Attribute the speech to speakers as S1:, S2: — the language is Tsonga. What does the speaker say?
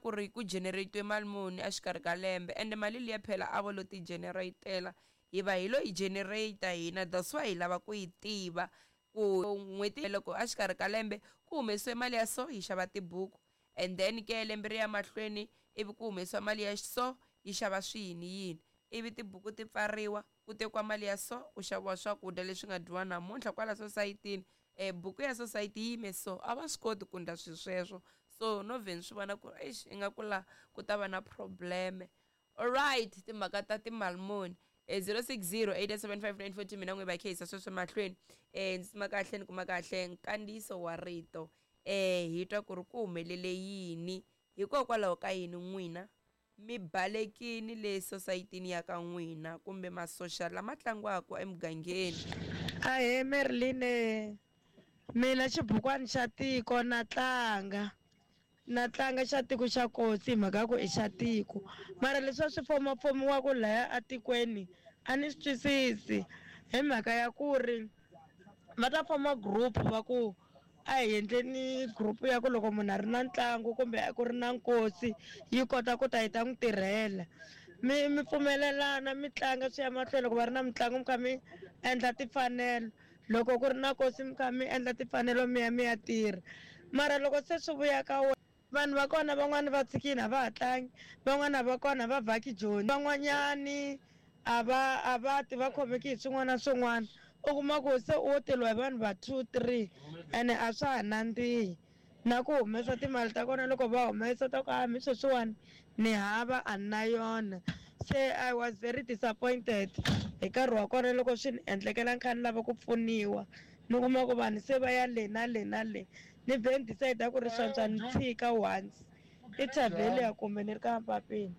S1: Ku ri ku generate-iwe mali muni exikarhi ka lembe ende mali liya phela a vo lo ti generate-ela hi va hi lo yi generate hina that's why hi lava ku yi tiva ku n'hweti loko exikarhi ka lembe ku humesiwe mali ya so yi xava tibuku and then ke lembe ri ya mahlweni ivi ku humesiwa mali ya so yi xava swiyini yini ivi tibuku ti pfariwa ku tekiwa mali ya so ku xaviwa swakudya leswi nga dyiwa namuntlha kwala sosayitini um buku ya sosayiti yi yime so a va swi koti ku ndla swilo sweswo so no vhe ni swi vona ku eish ingaku la ku ta va na probleme alright timhaka ta timali muni e 060 875 mina n'wi va khehisa sweswo mahlweni um ndzi tsima kahle ni kuma kahle nkandziyiso wa rito um hi twa ku ri ku humelele yini hikokwalaho ka yini n'wina mi balekini le sosayitini ya ka n'wina kumbe masoxa lama tlangiwaka emugangeni.
S2: Ahee Merline mina xibukwani xa tiko na tlanga na tlanga xa tiko xa kotsi hi mhaka ya ku i xa tiko mara leswi a swi fomafomiwaka laya atikweni a ni swi twisisi hi mhaka ya ku ri va ta foma group va ku A hi endleni group ya ku loko munhu a ri na ntlangu kumbe ku ri na nkosi yi kota ku ta yi ta n'wi tirhela. Mi mi pfumelelana mi tlanga swi ya mahlweni loko va ri na mitlangu mi kha mi endla timfanelo, loko ku ri na nkosi mi kha mi endla timfanelo mi ya mi ya tirha. Mara loko se swi vuya ka wena vanhu va kona van'wani va tshikile a va ha tlangi, van'wana va kona a va vhaki Joni, van'wanyani a va a va ti va khomeke hi swin'wana na swin'wana u kuma ku se u wo teliwa hi vanhu va 2 3 ene a swa ha nandzihi na ku humesa timali ta kona loko va humesa ta ku a mi sweswiwani ni hava a ni na yona se I was very disappointed hi nkarhi wa kona loko swi ni endlekela ni kha ni lava ku pfuniwa ni kuma ku vanhu se va ya le na le na le ni vhe ni decide ku ri swantswa ni tshika once i thavheli ya kumbe ni ri ka mpapeni.